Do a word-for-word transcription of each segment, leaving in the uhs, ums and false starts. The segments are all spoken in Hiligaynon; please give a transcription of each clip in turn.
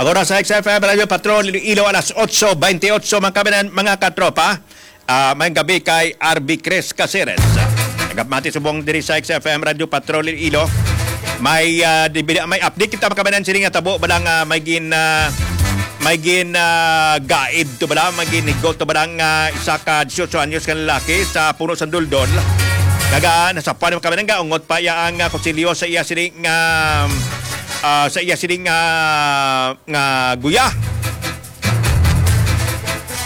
Ang oras sa X F M Radio Patrol Iloilo, alas otso bentiocho, mga kababayan, mga katropa. Ah, may gabi kay R B Chris Caceres. Nagapamati subong diri sa X F M Radio Patrol Iloilo. May, ah, di, may update kita, mga kababayan, sini nga tabo, bala nga may gin, ah, may gin, ah, gaid to, bala, may ginigo to, bala nga isa ka dieciocho anyos nga lalaki sa Puno sang Duldol. Kaga, nasapan, mga kababayan, nga ungot pa iya ang, ah, kutsilyo sa iya sini nga, ah, sa iya sini nga, nga guya.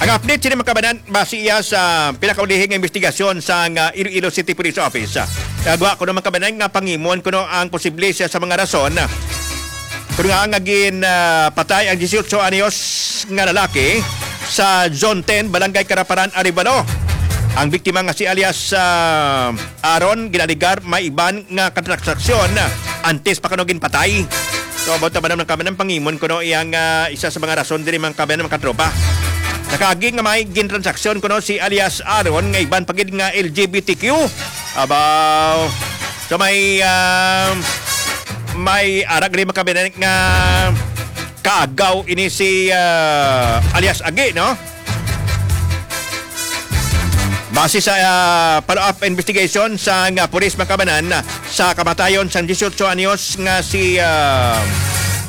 Ang update sini, mga kababayan, base iya sa pinakaulihing nga investigasyon sang, ah, Iloilo City Police Office. Nagwa ko naman, mga kababayan, nga pangimon kuno ang posible siya sa mga rason kung nga nga gin, ah, patay ang dieciocho anyos nga lalaki sa Zone ten, Barangay Karaparan, Arevalo. Ang biktima nga si alias, ah, Aaron, ginaligar may iban nga katransaksyon antes pa kuno ginpatay. So, about naman ang kamanang pangimon kuno iyang, ah, isa sa mga rason diri, mga kababayan, mga katropa. Nakaagi nga may gintransaksyon kuno si alias Aaron nga iban pa gid nga L G B T Q. Abaw. So, may, ah, may arag rin, mga kababayan, nga kaagaw ini si, ah, alias Agi, no? Base sa, ah, follow-up investigation sang, ah, pulis, mga kababayan, sa kamatayon sang dieciocho anyos nga si, ah,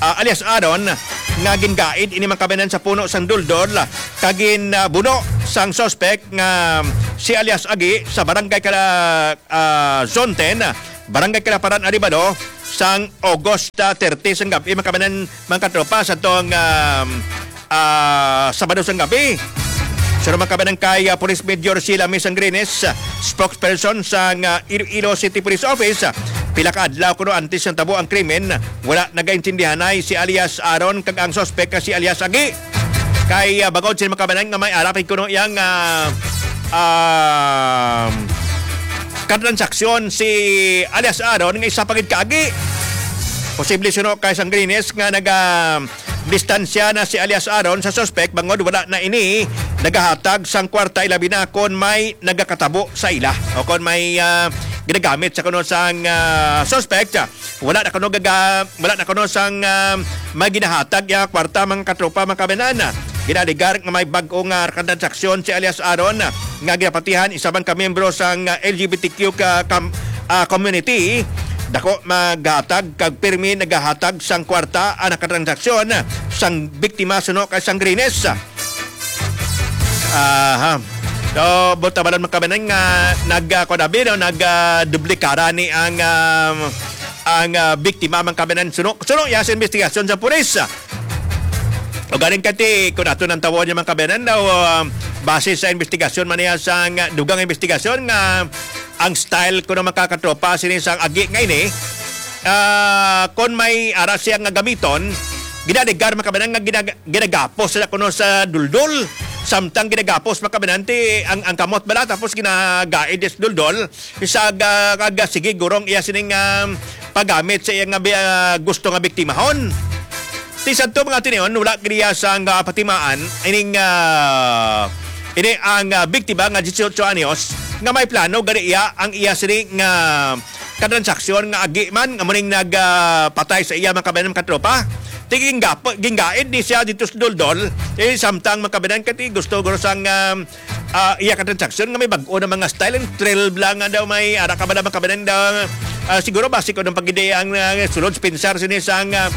ah, alias Aaron, nga gingaid ini, mga kababayan, sa puno sang duldol kag gin, ah, buno sang suspect nga si alias Agi sa barangay Kala-, ah, Zone ten, Barangay Kalaparan, Arevalo, sang August thirty sang gabi, mga kababayan, mga katropa, sa tong, um, ah, Sabado sang gabi. Sa mga kababayan, kay, ah, Police Major Sheila May Sangrines, ah, spokesperson sang, ah, Iloilo City Police Office, ah, pila ka adlaw kuno antes nga tabo ang krimen, wala nagaintindihanay si alias Aaron kag ang suspek nga si alias Agi. Kay, ah, bangod sa mga kababayan nga may arapig kuno iyang, ah, um, katransaksyon si alias Aaron nga isa pa gid kaagi. Posible suno kay Sangrines nga naga distansya na si alias Aaron sa suspek bangod wala na ini nagahatag sang kwarta, ilabi na kon may nagakatabo sa ila o kon may, ah, ginagamit sa kuno sang, ah, suspect. Wala na kuno gaga-, wala na kuno sang, ah, may ginahatag ya kwarta, mga katropa, mga kababayan. Ginaligar nga may bag-o nga katransaksyon si alias Aaron nga ginapatihan isa man ka miyembro sang, ah, L G B T Q ka kam-, ah, community. Dako maghatag kag pirmi nagahatag sang kwarta ang nakatransaksyon sang biktima suno kay Sangrines. Aha. So, buta ba lang, mga kababayan, nga nag, ah, kuwan abi, no? Nag, ah, duplikara ni ang, ah, ang, ah, biktima, mga kababayan. Suno, suno ya sa investigasyon sa pulis. O galing kati, kung ato nang tawon niya, mga kababayan, daw, ah, base sa investigasyon man niya sa, ah, dugang investigasyon nga ang style ko ng mga katropa, sini sang agi nga ini, ah, kung may ara siya nga gamiton, ginaligar, mga kababayan, nga ginag-, ginagapos sila kuno sa duldol. Samtang ginagapos, mga kababayan, ti ang, ang kamot bala, tapos ginagaid sa duldol. Isa ga, ga, ga, sige, gurong iya sining, ah, paggamit sa iya nga bi-, ah, gusto nga biktimahon. Ti sadto, mga tinion, wala gid iya sang, ah, patimaan ining, ah, ini ang, ah, biktima nga dieciocho anyos nga may plano gani iya ang iya sini nga katransaksyon nga agi man nga muning nag, ah, patay sa iya, mga kababayan, mga katropa. Ti ginggapo-, ginggaid ni siya dito sa duldol, eh, samtang, mga kababayan, kati gusto guro sang, ah, ah, iya ka transaksyon nga may bag-o na mga style and thrill bla nga daw may ara ka ba na makabanan daw, ah, siguro basi ko ng pagide ang, ah, sulod sa pinsar sini sang, ah,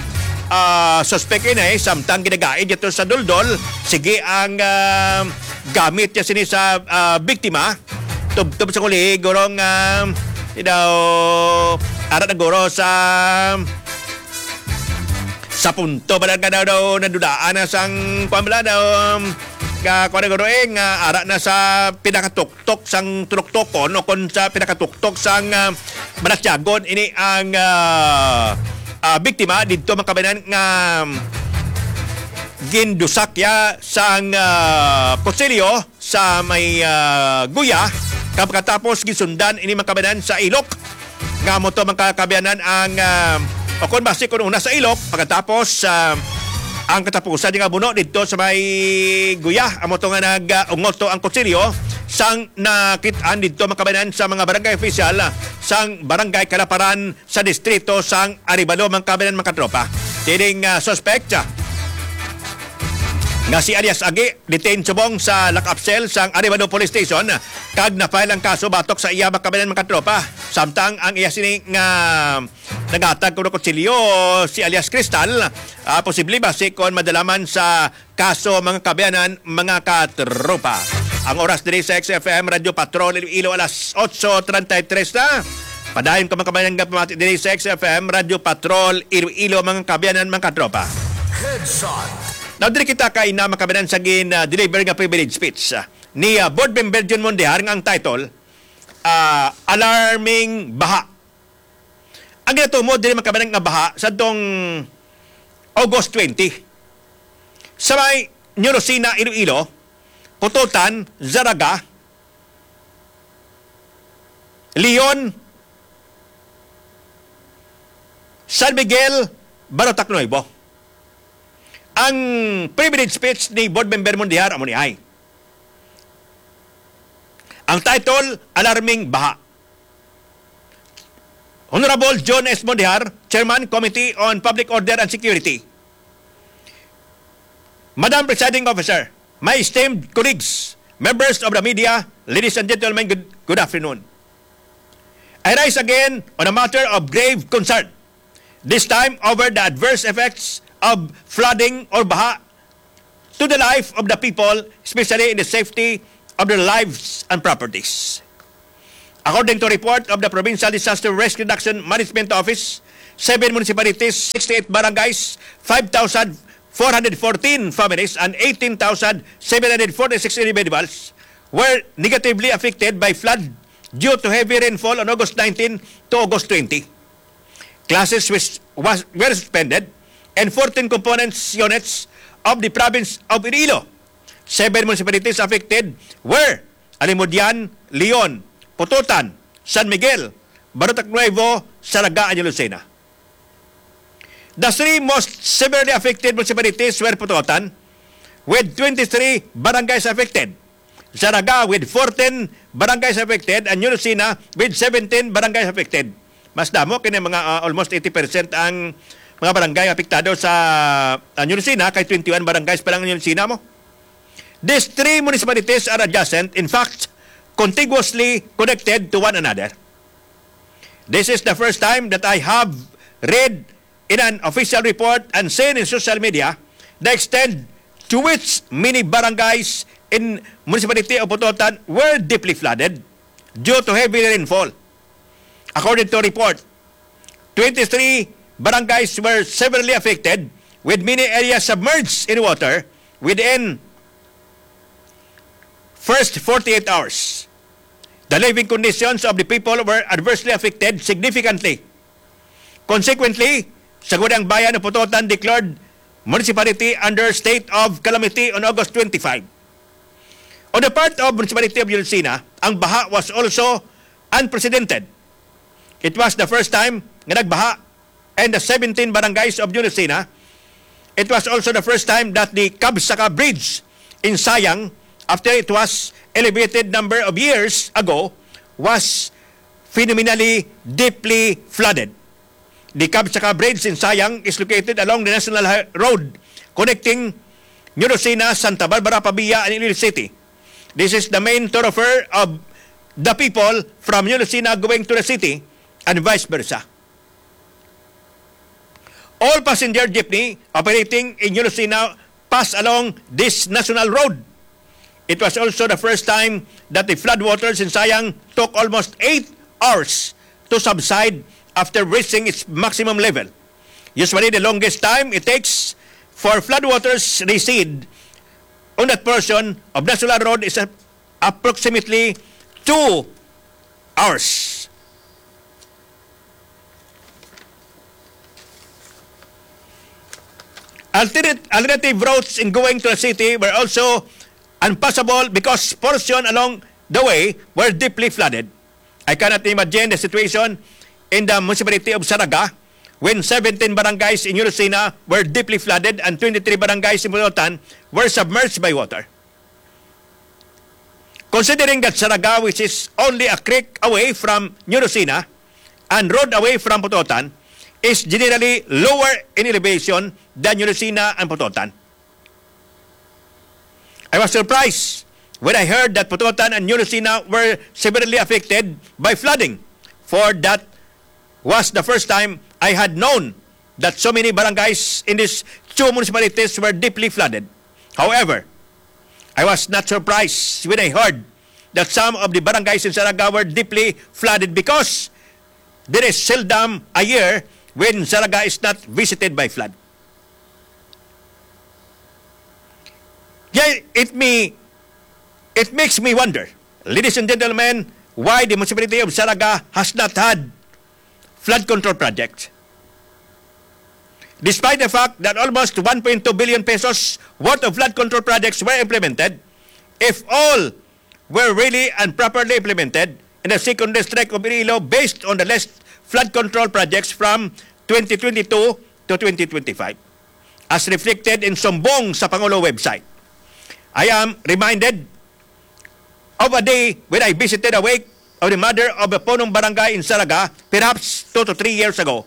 ah, suspect ini, eh, samtang ginagaid ito sa duldol, sige ang, ah, gamit niya sini sa, ah, biktima. Tubtob sa kuli, gurong, ah, you know, ara na guro sa sa punto ba lang ka daw, daw nadulaan na sang, kuwan ba lang daw, um, ka, kuwan na guro, eh, nga ara na sa pinakatuktok sang tunuktokon o kon sa pinakatuktok sang, ah, balatyagon ini ang, ah, ah, biktima didto, mga kababayan, nga, um, gindusak ya sang, ah, kutsilyo sa may, ah, guya, kag pagkatapos gisundan ini, mga kababayan, sa ilok. Nga mo to, mga kababayan, ang, ah, o kung basi kung una sa ilok, pagkatapos, ah, ang katapusan nga buno didto sa may guya, amo to nga nag, ah, ungot to ang kutsilyo sang nakit-an didto, mga kababayan, sa mga barangay official, ah, sang Barangay Kalaparan sa distrito sang Arevalo, mga kababayan, mga katropa. Kining, ah, suspect, ah, nga si alias Agi, detained subong sa lock-up cell sang Arevalo Police Station, kag na-file ang kaso batok sa iya, mga kabayan, mga katropa. Samtang ang iya sini nga naghatag kuno kutsilyo, si alias Cristal, ah, posible basi kon madalaman sa kaso, mga kabayanan, mga katropa. Ang oras diri sa X F M Radyo Patrol Iloilo, alas otso treinta y tres na. Padayon ka, mga kabayanan, nga pamati diri sa X F M Radyo Patrol Iloilo, mga kabayanan, mga katropa. Headshot. Now, diri kita kay na, mga kabayanan, sa gin, ah, deliver nga privilege speech, ah, ni, ah, Board Member Jun Mondejar, nga ang title, ah, Alarming Baha. Ang ginatumod diri, mga kabayanan, nga baha sa tong August twenty, sa may New Lucena, Iloilo, Pototan, Zarraga, Leon, San Miguel, Barotac Nuevo. Ang privilege speech ni Board Member Mondejar amo ni ay. Ang title, Alarming Baha. Honorable John S. Mondejar, Chairman, Committee on Public Order and Security. Madam Presiding Officer, my esteemed colleagues, members of the media, ladies and gentlemen, good, good afternoon. I rise again on a matter of grave concern, this time over the adverse effects of flooding or baha to the life of the people, especially in the safety of their lives and properties. According to report of the Provincial Disaster Risk Reduction Management Office, seven municipalities, sixty-eight barangays, five thousand four hundred fourteen families, and eighteen thousand seven hundred forty-six individuals were negatively affected by flood due to heavy rainfall on August nineteen to August twenty. Classes was, was, were suspended, and fourteen components units of the province of Iloilo. Seven municipalities affected were Alimodian, Leon, Pototan, San Miguel, Barotac Nuevo, Zarraga, and Lucena. The three most severely affected municipalities were Pototan, with twenty-three barangays affected, Zarraga with fourteen barangays affected, and New Lucena with seventeen barangays affected. Mas damo kini, mga, ah, almost eighty percent ang mga barangay apektado sa, ah, New Lucena, kay twenty-one barangays pa lang ang New Lucena mo. These three municipalities are adjacent, in fact, contiguously connected to one another. This is the first time that I have read in an official report and seen in social media the extent to which many barangays in municipality of Pototan were deeply flooded due to heavy rainfall. According to report, twenty-three barangays were severely affected, with many areas submerged in water within first forty-eight hours. The living conditions of the people were adversely affected significantly. Consequently, Sangguniang Bayan of Pototan declared municipality under state of calamity on August twenty-five. On the part of Municipality of Yulsina, ang baha was also unprecedented. It was the first time nga nagbaha in the seventeen barangays of Yulsina. It was also the first time that the Kabsaka Bridge in Sayang, after it was elevated number of years ago, was phenomenally deeply flooded. The Kabsaka Bridge in Sayang is located along the National Hi-, Road connecting New Lucena, Santa Barbara, Pavia, and Iloilo City. This is the main thoroughfare of the people from New Lucena going to the city and vice versa. All passenger jeepney operating in New Lucena pass along this national road. It was also the first time that the floodwaters in Sayang took almost eight hours to subside after reaching its maximum level. Usually, the longest time it takes for floodwaters recede on that portion of national road is a-, approximately two hours. Alternate, alternative routes in going to the city were also unpassable because portion along the way were deeply flooded. I cannot imagine the situation in the municipality of Zarraga when seventeen barangays in New Lucena were deeply flooded and twenty-three barangays in Pototan were submerged by water. Considering that Zarraga, which is only a creek away from New Lucena and road away from Pototan, is generally lower in elevation than New Lucena and Pototan. I was surprised when I heard that Pototan and New Lucena were severely affected by flooding, for that was the first time I had known that so many barangays in these two municipalities were deeply flooded. However, I was not surprised when I heard that some of the barangays in Zaraga were deeply flooded because there is seldom a year when Zaraga is not visited by flood. Yeah, it me it makes me wonder, ladies and gentlemen, why the municipality of Zaraga has not had flood control project, despite the fact that almost one point two billion pesos worth of flood control projects were implemented. If all were really and properly implemented in the second district of Iloilo based on the list flood control projects from twenty twenty-two to twenty twenty-five, as reflected in Sumbong sa Pangulo website. I am reminded of a day when I visited a wake of the mother of a punong barangay in Zaraga, perhaps two to three years ago.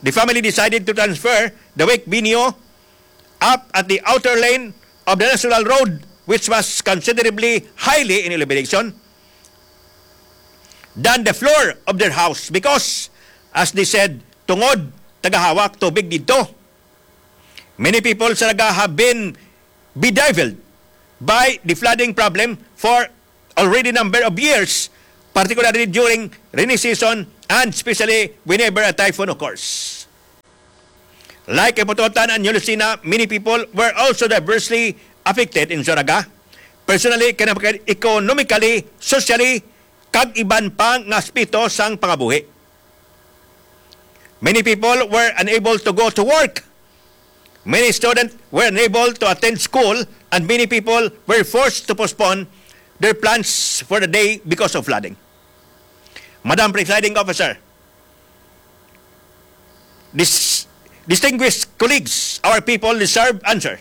The family decided to transfer the wake venue up at the outer lane of the national road, which was considerably highly in elevation, than the floor of their house because, as they said, tungod tagahawak tubig dito. Many people sa Naga have been bedeviled by the flooding problem for already number of years, particularly during rainy season and especially whenever a typhoon occurs. Like Pototan and New Lucena, many people were also diversely affected in Zaraga, personally, economically, socially, kag iban pa nga aspeto sang pangabuhi. Many people were unable to go to work. Many students were unable to attend school, and many people were forced to postpone their plans for the day because of flooding. Madam Presiding Officer, dis-, distinguished colleagues, our people deserve answer.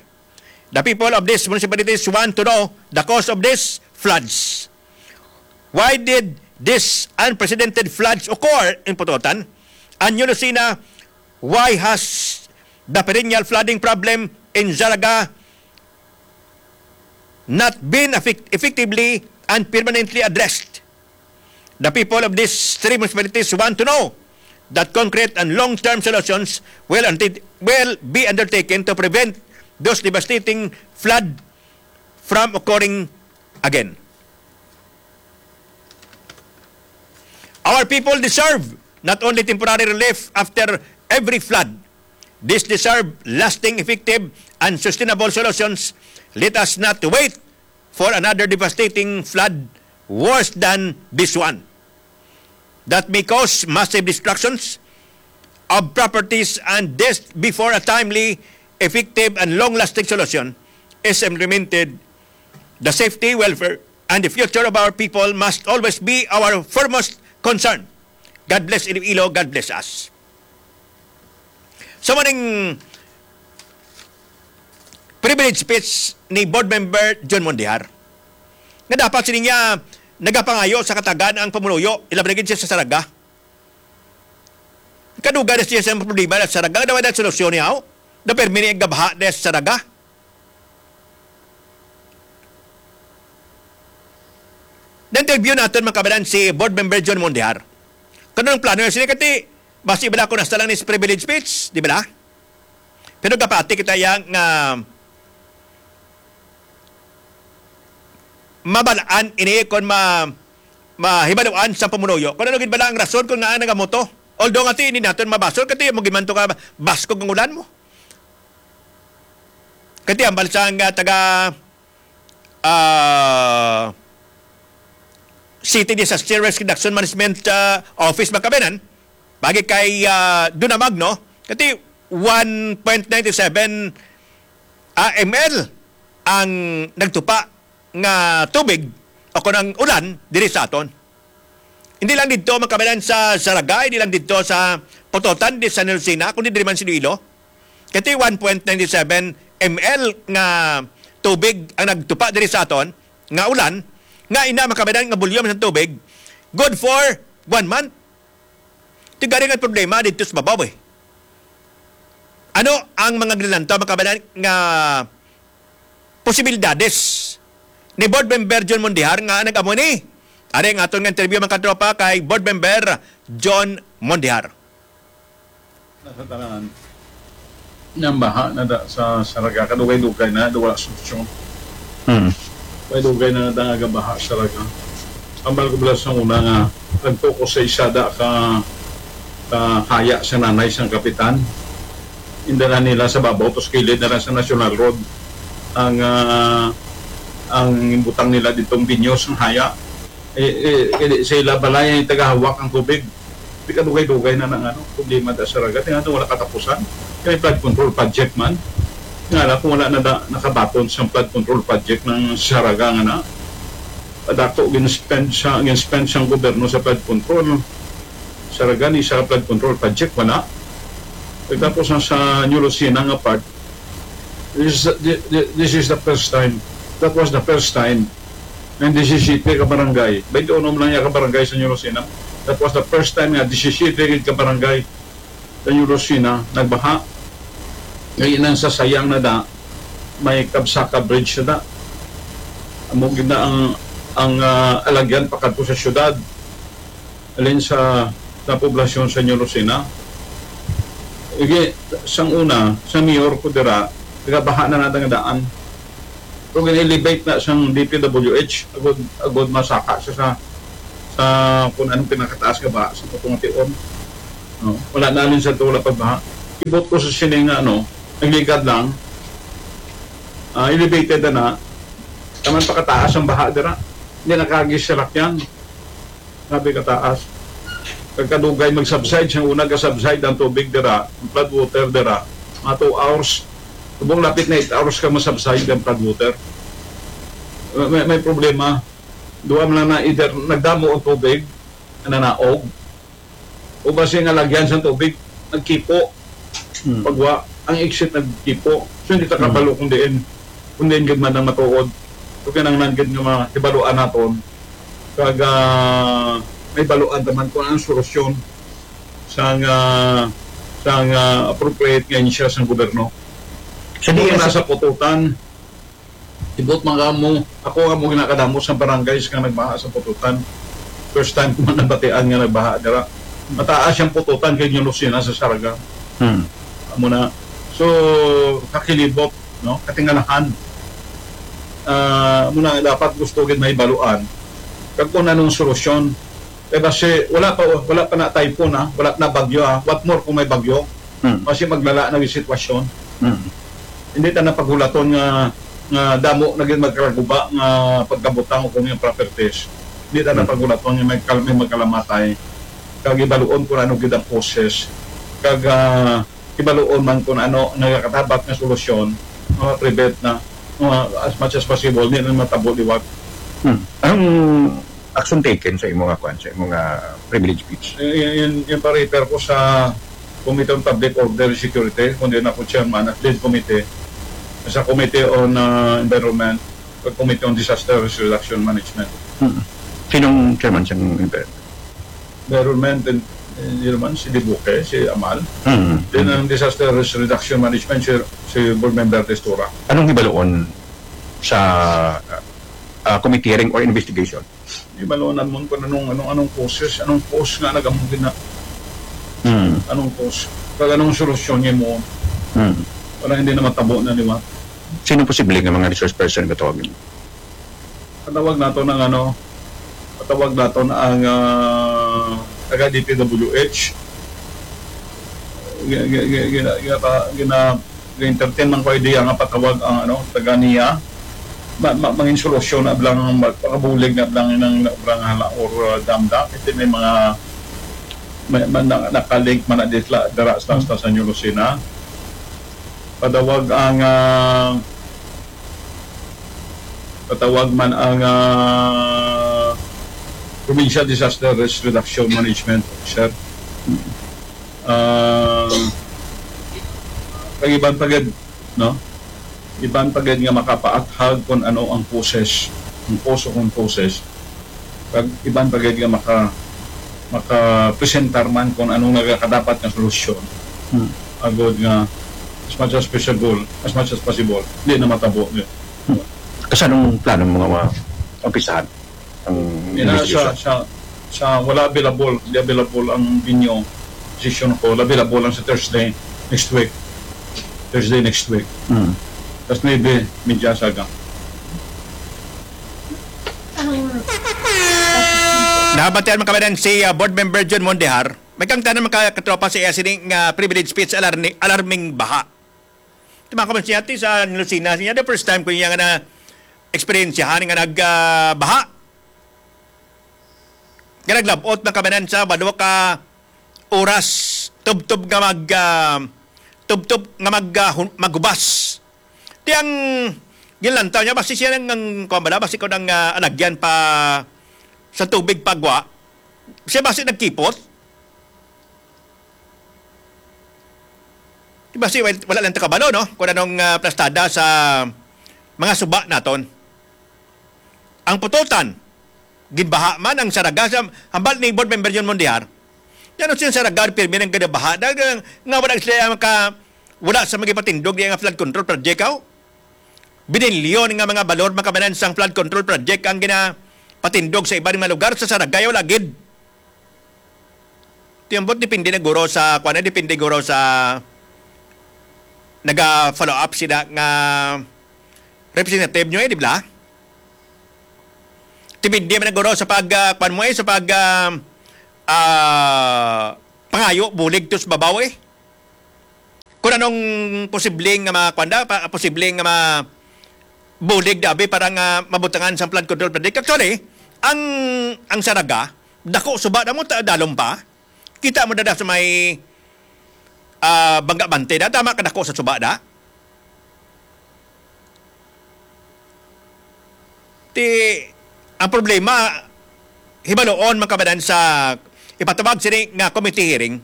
The people of these municipalities want to know the cause of these floods. Why did these unprecedented floods occur in Pototan and New Lucena? Why has the perennial flooding problem in Zaraga not been effect-, effectively and permanently addressed? The people of these three municipalities want to know that concrete and long-term solutions will, unti-, will be undertaken to prevent those devastating flood from occurring again. Our people deserve not only temporary relief after every flood. These deserve lasting, effective, and sustainable solutions. Let us not wait for another devastating flood worse than this one that may cause massive destructions of properties and death before a timely, effective, and long-lasting solution is implemented. The safety, welfare, and the future of our people must always be our foremost concern. God bless Iloilo, God bless us. So, maning privilege speech ni Board Member John Mondihar, nga dapat sini niya nagapangayo sa katagan ang pumuluyo, ilabi na gid siya sa Saraga. Kadugay na siya sa problema na sa Saraga, daw na solusyon niya, oh. Daw permi ni gabaha na sa Saraga. Na-interview naton, mga kabanan, si Board Member John Mondihar. Kanang plano na sila, kati, basi bala ko nasa lang ni privilege speech, di ba? Pero gapati kita yang, ah, mabalaan ini kon ma-, mahibaluan sa pumunuyo. Kung ano gid bala ang rason kung ngaa nagamoto. Although nga ti, hindi naton mabasol, kati mo gid man to ka baskog ang ulan mo. Kati ang balsa nga taga, ah, City Disaster Risk Reduction Management, ah, Office, mga kabanan, bagi kay, ah, Dunamag, no? Kati one point nine seven, ah, M L ang nagtupa nga tubig o kung ang ulan diri sa aton. Hindi lang dito, mga kabanan, sa Saraga, hindi lang dito sa Pototan, di sa Nilsina, kundi diri man sa Iloilo. Kati one point nine seven M L nga tubig ang nagtupa diri sa aton, nga ulan, nga ina, mga kabanan, nga volume sa tubig, good for one month. Ti gani nga problema dito sa babaw, eh. Ano ang mga ginalantaw, mga kabanan, nga posibilidades ni Board Member John Mondejar nga nag-amo ni. Ari ang aton nga interview, mga katropa, kay Board Member John Mondejar. Na sa tanan, nang baha na da sa Saraga, kadugay-dugay na, da wala solusyon. Hmm. Kadugay na da nga baha sa Saraga. Ambal ko bala sa una nga nagtukos sa isa da ka, ka haya sa nanay sang kapitan. Indala nila sa babaw, tos kilid na lang sa National Road ang, ah, ang butang nila ditong binyo sang haya. Eh, eh, eh, sa ila balay ang tagahawak ang tubig. Di kadugay-dugay na nang ano, problema da sa Saraga. Tingnan wala katapusan. Kay flood control project man. Nga lang kung wala na da, nakabaton sa flood control project ng Saraga nga na. Padako gin-spend sa, gin-spend sang gobyerno sa flood control. Saraga ni sa flood control project, wala. Tapos ang sa New Lucena nga part, this is, this is the first time. That was the first time. Ang disisiyete ka barangay, twenty-one man lang ya ka barangay sa New Lucena. That was the first time nga disisiyete gid ka barangay sa New Lucena nagbaha. Ngay nang sa Sayang na da, may Kabsaka Bridge na da. Amo gid na ang, ang, ah, alagyan pakadto sa syudad, alin sa, sa poblasyon sa New Lucena. Igi, sang una, sa mayor ko dira, nagabaha na nga daan. Pero gina-elevate na sang D P W H, agod, agod masaka siya sa, sa kung anong pinakataas nga baha sa Putuong Ation. No? Wala na alin sa to, wala pagbaha. Ibot ko sa sini nga, ano, nagligad lang. Ah, elevated na na. Taman pakataas ang baha dira. Hindi nakagis sa lakyan. Grabe kataas. Kag kadugay mag-subside, sang una ga-subside ang tubig dira, ang flood water dira, mga two hours. Subong lapit na eight hours ka ma-subside ang flood water. May, may problema. Duha man lang na, either nagdamo ang tubig, nanaog, o basi nga lagyan sang tubig, nagkipo. Hmm. Pagwa, ang exit nagkipo. So, hindi ta Hmm. kabalo kung diin, kung diin gid man ang matuod. So, kinahanglan gid nga mahibaluan naton. Kag, ah, mahibaluan ta man kung anong solusyon sang, ah, sang, ah, appropriate nga ahensya sang gobyerno. Sa Kung D S nasa pututan, Ibot man kamo, ako nga mo ginakadamo sa barangays nga nagbaha sa Pututan. First time ko man nabatian nga nagbaha dira. Mataas ang Pututan kay New Lucena sa Saraga. Hmm. Amo na. So, kakilibot, no? Katingalahan. Ah, amo na dapat gusto gid mahibaluan. Kag kung anong solusyon, kay basi wala pa, wala pa na typhoon, ha? Wala pa na bagyo, ha? What more kung may bagyo? Hmm. Basi maglala na yung sitwasyon. Hmm. Hindi ta na paghulaton nga, nga damo na gid magkaraguba nga pagkabutang o kung yung properties. Hindi ta na Hmm. paghulaton nga may kal-, may magkalamatay. Kag ibaluon kung ano gid ang causes. Kag, ah, ibaluon man kung ano ang nagakatapat nga solusyon, mga prevent na, mga as much as possible, hindi na matabo liwat. Hmm. Anong action taken sa imo nga kwan, sa imo nga privilege speech? Y-, y-, yun, yung pa-refer ko sa Committee on Public Order and Security, kundi na ko chairman at lead committee sa Committee on, ah, Environment, at Committee on Disaster Risk Reduction Management. Hmm. Sinong chairman sa environment? Environment and, eh, yun naman, si Dibuque, si Amal. Hmm. Then, ang Disaster Risk Reduction Management, si, si Board Member Testura. Anong hibaluon sa, ah, committee hearing or investigation? Di ba, no, naman kung anong, anong, anong causes, anong cause nga nagamugin na. Hmm. Anong cause? Kag anong solusyon niya mo? Hmm. Para hindi na matabo na, di ba? Sino posible nga mga resource person nga tawagin? Patawag nato ng ano, patawag nato na ang, ah, taga D P W H. Gi-, gi-, gi-, gina-, gina-, gina-, gina-entertain man ko idea nga patawag ang, ano, taga niya. Ma-, ma-, mangin solusyon na blang, ma-, makabulig na blang ng obra nga hala or, uh, damda. Kasi may mga, may, may na-, nakalink man na ditla, dara sa, sa, sa New Lucena. Patawag ang, ah, patawag man ang, ah, Provincial Disaster Risk Reduction Management Officer. Ah, kag iban pa gid, no? Iban pa gid nga makapaathag kung ano ang causes, ang cause o kung causes. Kag iban pa gid nga maka-, makapresentar man kung anong nagakadapat nga solusyon. Hmm. Agod nga as much as possible, as much as possible, di na matabo ni. Kasi anong plano mo nga ma-, umpisahan ang Yan na, investigation? Sa, sa, sa wala available, di available ang venue, decision ko, wala available lang sa Thursday next week. Thursday next week. Mm. Tapos maybe, medya saga. Nabatian man kami si, ah, Board Member John Mondehar. May kang tanan mga katropa sa iya sini nga privilege speech alarni-, alarming baha. Tuma ko man siya, ti, sa Lucena, siya, the first time ko niya nga na-experiencehan nga nag, ah, baha. Nga naglabot na kami sa walo ka oras, tubtob nga mag, ah, tubtob nga mag, ah, hun-, maghubas. Ti ang ginlantaw niya, basi siya nang, nang, kuwan ba na, basi ko nang, ah, alagyan pa sa tubig pagwa. Siya basi nagkipot. Di ba si, wal-, wala lang ta kabalo, no? Kung anong, ah, plastada sa mga suba naton. Ang pututan, ginbaha man ang saraga sa hambal ni Board Member John Mondehar. Yan ang siya saraga, pirmi ng ginabaha. Dahil nga, nga wala sila maka, wala sa magipatindog di nga flood control project, aw? Binilyon nga mga balor makabanan sang flood control project ang ginapatindog sa iban nga lugar sa Saragay o Lagid. Ti ambot depende na guro sa, kuwan na, depende guro sa naga-follow up sila nga representative nyo, eh, di ba? Depende man na guro sa pag, ah, kuwan mo, eh, sa pag, ah, ah, pangayo, bulig to sa babaw, eh. Kung anong posibleng nga ma-, kuwan da, pa-, posibleng nga ma-, bulig da, abi, para nga mabutangan sa flood control project. Actually, ang, ang Saraga, dako suba na mo, ta-, dalom pa. Kita mo dada sa may, ah, Bangga Bante da, tama ka dako sa suba da. Ti, ang problema, hibaloon man kabanan sa ipatawag sini nga committee hearing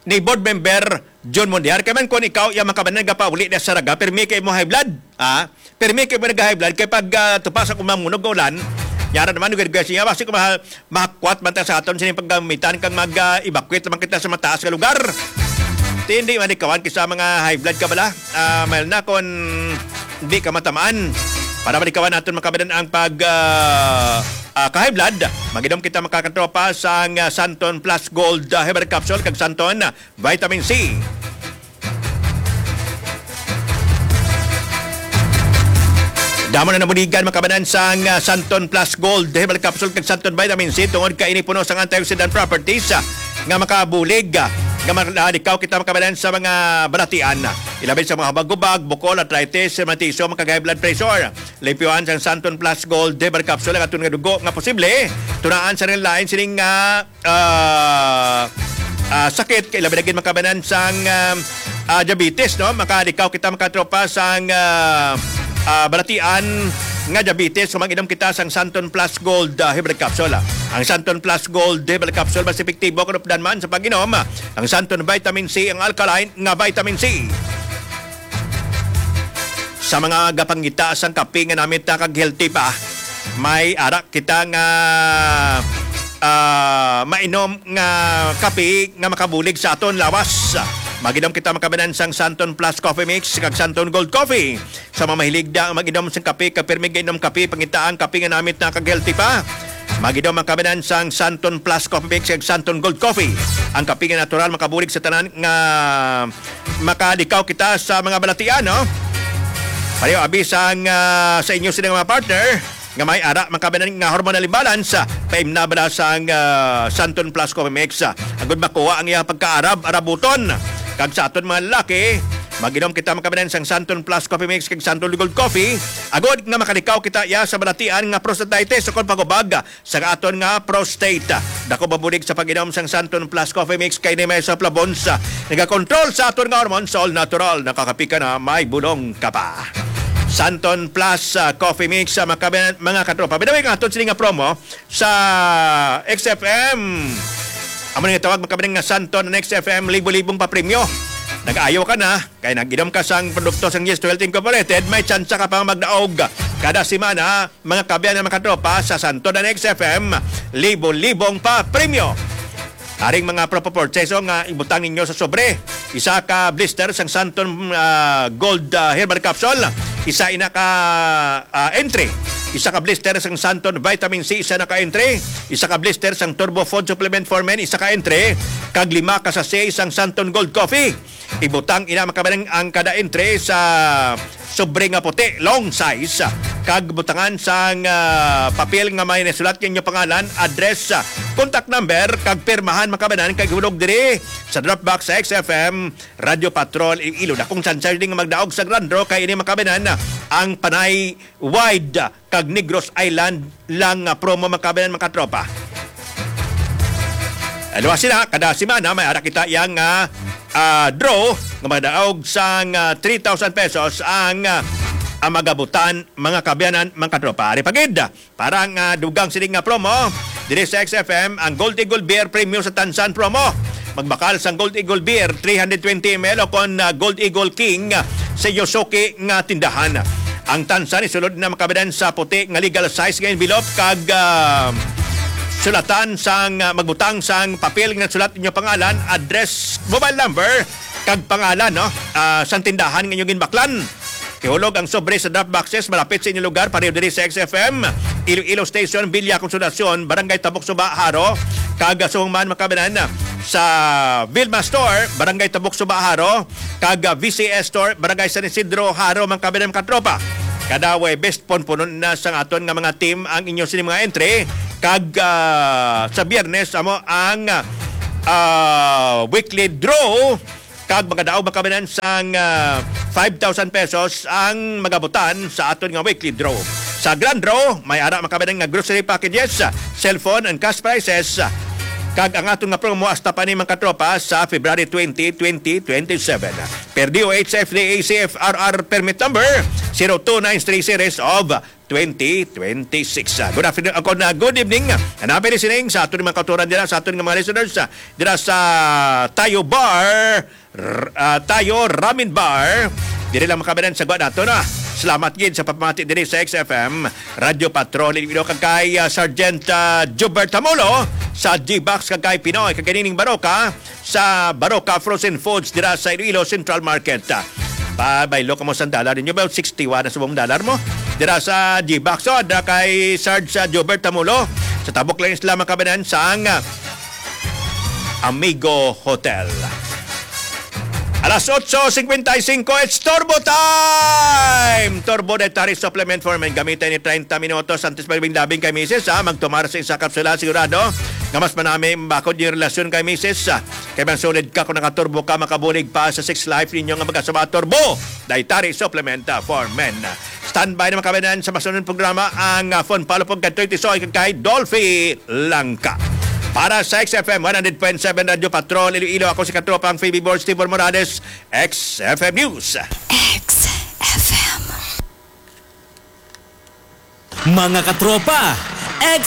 ni Board Member John Mondiar. Kay man kung ikaw, iya man kabanan, nagapauli na sa Saraga, pirmi kay mo high blood. Ah, pirmi kay mo nag-high blood, kay pag, ah, tupa sa kumang munog nga ulan, yara naman, nag-request niya, basi ko ma-, mahakwat man ta sa aton, sining paggamitan kang mag, ah, evacuate naman kita sa mataas nga lugar. Ti, hindi man ikawan kay sa mga high blood ka bala. Ah, mahal na kung hindi ka matamaan. Para malikawan naton makabanan ang pag, ah, ah, ka-high blood, mag-inom kita, mga katropa, sang, ah, Santon Plus Gold, ah, Herbal Capsule kag Santon, ah, Vitamin C. Damo na nabuligan makabanan sang, ah, Santon Plus Gold Herbal Capsule kag Santon Vitamin C tungod kay ini puno sang antioxidant properties, ah, nga makabulig, ah, nga malikaw kita makabanan sa mga balatian, ah, ilabi sa mga hubag-hubag, bukol, arthritis, rheumatism, kag high blood pressure. Limpyuhan sang Santon Plus Gold Herbal Capsule ang aton nga dugo nga posible tunaan sa rin lain sining nga ah, ah, sakit, kay labi na gid makabanan sang, ah, ah, diabetes, no? Makalikaw kita, mga katropa, sang, ah, ah, balatian nga diabetes kung mag-inom kita sang Santon Plus Gold, ah, Herbal Capsule, ah. Ang Santon Plus Gold Herbal Capsule mas epektibo kung updan man sa pag-inom, ah, ang Santon Vitamin C, ang alkaline nga vitamin C. Sa mga gapangita sang kape nga namit na kag healthy pa, may ara kita nga, ah, mainom nga kape nga makabulig sa aton lawas. Mag-inom kita makabanan sang Santon Plus Coffee Mix kag Santon Gold Coffee. Sa mga mahilig da ang mag-inom sang kape, kag pirmi gainom kape, pangita ang kape nga namit na kag healthy pa. Mag-inom ang kabanan sang Santon Plus Coffee Mix kag Santon Gold Coffee. Ang kape nga natural makabulig sa tanan nga makalikaw kita sa mga balatian, no? Pareho abi sang, ah, sa inyo sila nga mga partner nga may ara man kabanan nga hormonal imbalance, ah, paimna bala sang, ah, Santon Plus Coffee Mix, ah, agud makuha ang iyang pagkaarab-arabuton. Kag sa aton mga lalaki, mag-inom kita makabanan sang Santon Plus Coffee Mix kag Santon Gold Coffee, agud nga makalikaw kita iya sa balatian nga prostatitis o kon pagubag, sa aton nga prostate. Dako mabulig sa pag-inom sang Santon Plus Coffee Mix kay ni may sa flavons, ah, nagakontrol sa aton nga hormones, all natural, nakakapi ka na, may bulong ka pa. Santon Plus, ah, Coffee Mix, ah, makabi-, mga katropa. By the way, nga aton sini nga promo sa X F M. Amo nga tawag makabilang nga Santon ang X F M, libo-libong papremyo. Nag-ayo ka na, kay nag-inom ka sang produkto sang Yes to Health Incorporated, may tsansa ka pang magdaog kada semana, mga kaabyanan, mga katropa, sa Santon and X F M, libo-libong pa premyo. Aring mga propo purchase nga ibutang ninyo sa sobre, isa ka blister sang Santon, ah, Gold, ah, Herbal Capsule, Isa ina ka, ah, entry. Isa ka blister sang Santon Vitamin C, isa na ka entry. Isa ka blister sang Turbo Food Supplement for Men, isa ka entry. Kag lima ka sachet sang Santon Gold Coffee. Ibutang ina, mga kababayan, ang kada entry sa sobre nga puti, long size, kag butangan sang, ah, papel nga may nasulat ninyo pangalan, address, ah, contact number, kag pirmahan, mga kababayan, kag ihulog diri sa drop box sa X F M Radyo Patrol Iloilo. Dakong tsansa diri nga magdaog sa grand draw kay ini, mga kababayan, ang Panay Wide kag Negros Island lang nga promo, mga kababayan, mga katropa. Aluwa sila, kada semana may ara kita yang, ah, ah, draw nga magdaog sang, ah, three thousand pesos ang, ah, ang magabutan, mga kababayan, mga katropa. Ari pa gid, para nga dugang sini nga promo, diri sa X F M, ang Gold Eagle Beer Premium sa Tansan promo. Magbakal sang Gold Eagle Beer three hundred twenty M L o kon, ah, Gold Eagle King, ah, sa inyo suki nga tindahan. Ang Tansan isulod na, mga kababayan, sa puti nga legal size nga envelope kag, ah, sulatan sang, ah, magbutang sang papel nga sulat inyo pangalan, address, mobile number, kag pangalan, no? Ah, sang tindahan nga inyo ginbaklan. Ihulog ang sobre sa drop boxes malapit sa inyong lugar, pareho diri sa X F M Iloilo Station, Villa Consolacion, Barangay Tabok Suba, Jaro, kag subong man, mga kababayan, sa Vilma Store, Barangay Tabok Suba, Jaro, kag V C S Store, Barangay San Isidro, Jaro, mga kababayan, mga katropa. Kada Huwebes, punpunon na sang aton nga mga team ang inyo sini mga entry, kag, ah, sa Biyernes amo ang, ah, weekly draw. Kag magadaog, mga kababayan, sang, ah, five thousand pesos ang magabutan sa aton nga weekly draw. Sa grand draw, may ara, mga kababayan, nga grocery packages, cellphone and cash prizes. Kag ang aton nga promo hasta pa ni, mga katropa, sa February twenty, twenty twenty-seven. Per D O H F D A C F R R permit number zero two nine three series of twenty twenty-six. Ah, good afternoon, ako na, good evening. Hanapin ni sining sa aton mga kautoran dira, sa aton nga mga listeners, ah, dira sa Tayo Bar, r-, ah, Tayo Ramen Bar. Diri lang, mga kababayan, sa gwa nato na. Salamat gid sa pagpamati diri sa X F M Radyo Patrol Iloilo, kag kay, ah, Sergeant, ah, Jubert Tamulo sa G-Box, kag kay Pinoy, kag kay Nining Baroka sa Baroka Frozen Foods dira sa Iloilo Central Market. Ah, pabaylo kamo sang dollar ninyo ba? Sixty-one na subong dollar mo. Dira sa G-Box, oh, dira kay Sarge, sa Jobert Tamulo. Sa tabok lang isla, mga kababayan, sang, ah, Amigo Hotel. Alas otso cincuenta y cinco, it's Turbo Time! Turbo Dietary Supplement for Men. Gamitan ni treinta minutos antes maglabing-labing kay misis, ha? Magtumar sa isa kapsula, sigurado nga mas manami ang bakod yung relasyon kay misis, ha? Kay man solid ka kung nakaturbo ka, makabulig pa sa sex life ninyo nga magkasama. Turbo Dietary Supplement, ah, for Men. Standby na, mga kababayan, sa masunod programa ang, ah, Fun Follow-up kay Toy Tisoy kag kay Dolphy Langka. Para sa X F M one hundred point seven Radyo Patrol Iloilo, ako si Katropang Phoebe Borge, Tibor Morales, X F M News. X F M. Mga katropa,